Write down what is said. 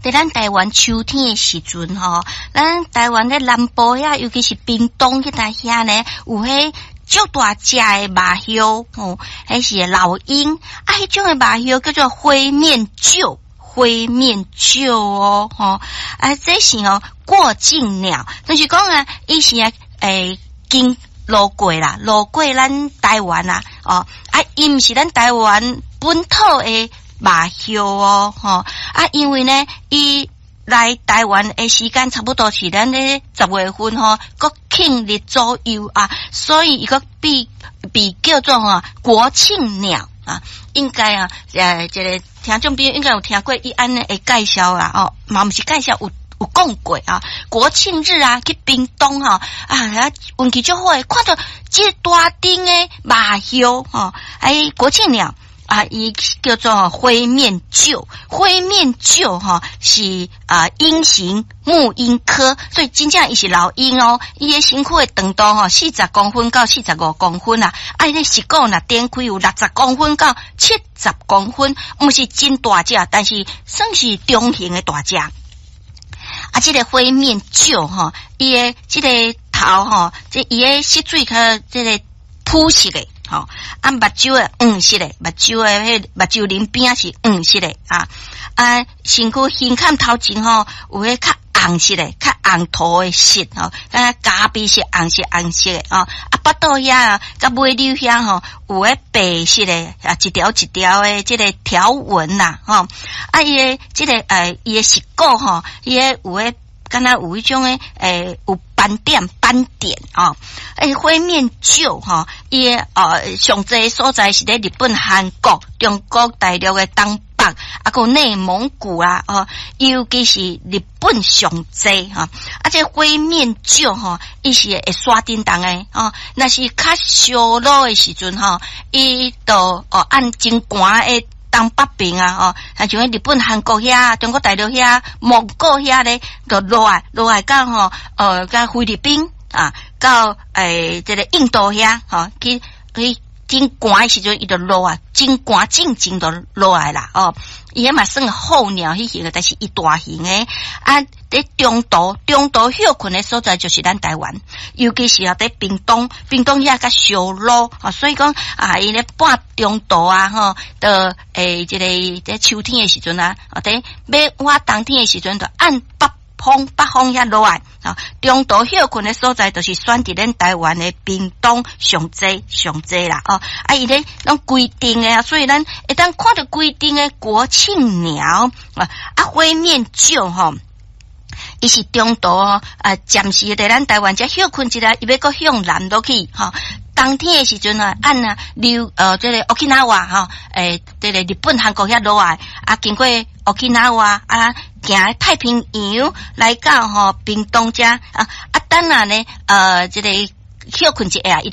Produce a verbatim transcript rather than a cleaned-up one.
佇咱台灣秋天的時陣吼，咱台灣的南部遐，尤其是屏東彼搭遐呢，有彼足大隻的麻鴞吼，彼是老鷹啊，彼種的麻鴞叫做灰面鵳，灰面鵳哦，吼啊，這是哦過境鳥，就是講啊，伊是啊，欸，經路過啦，路過咱台灣啊，哦啊，伊毋是咱台灣本土的麻鴞哦，吼啊，因為呢，伊來台灣的時間差不多是咱咧十月份吼，國慶日左右啊，所以伊閣被被叫做吼國慶鳥啊，應該啊，呃，這个聽眾朋友應該有聽過伊按呢的介紹啦，哦，嘛毋是介紹有。有講過啊，國慶日啊，去屏東吼啊，運氣足好的，看著這大陣的麻鴞吼，哎，國慶鳥啊，伊叫做灰面鵳，灰面鵳吼是啊鷹形目鷹科，所以真正伊是老鷹哦，伊的身軀的長度吼四十公分到四十五公分啊，啊，伊的翼骨若展開有六十公分到七十公分，毋是真大隻，但是算是中型的大隻。啊，這个灰面鵳吼，伊的這个頭吼，這伊的色水較這个膚色的吼，啊，目睭的黃色的，目睭的彼目睭鱗邊是黃色的啊，啊，身軀胸坎頭前吼有彼較紅色的，較紅塗的色吼，敢若咖啡色、紅色、紅色的哦，啊，腹肚遐佮尾瘤遐吼有彼白色的啊，一條一條的這个條紋啦，吼，啊，伊的這个呃，伊的翼骨吼，伊的有彼敢若有彼種的欸，有斑點斑點哦，欸，灰面鵳吼，伊的呃上濟所在是佇日本、韓國、中國大陸的東北，啊，閣內蒙古啊，哦，尤其是日本上濟吼，啊，這灰面鵳吼，伊是會徙振動的哦，若是較燒熱的時陣吼，伊就哦按真寒的東北邊啊，吼，啊像日本、韓國遐、中國大陸遐、蒙古遐咧，就落來落來到吼，呃，到菲律賓啊，到欸這个印度遐，吼，去去真寒的時陣，伊就落來，真寒進前就落來啦，哦，伊彼嘛算候鳥彼型的，但是伊大型的啊，佇中途中途歇睏的所在就是咱台灣，尤其是啊佇屏東，屏東遐較燒熱，啊，所以講啊，伊咧半中途啊，吼，就欸這个佇秋天的時陣啊，啊，佇欲倚冬天的時陣，就按北方北方遐落來，啊，中途歇睏的所在，就是選佇咱台灣的屏東上濟上濟啦，哦，啊，伊咧攏規定的啊，所以咱會當看著規定的國慶鳥啊，啊，灰面鵳吼，伊是中途啊，暫時佇咱台灣遮歇睏一下，伊欲閣向南落去，吼。冬天的時陣啊，按啊溜呃，這个 Okinawa 吼，欸，這个日本、韓國遐落來，啊，經過 Okinawa 啊，行太平洋來到吼屏東遮啊，啊，等下呢，呃，這个歇睏一下，伊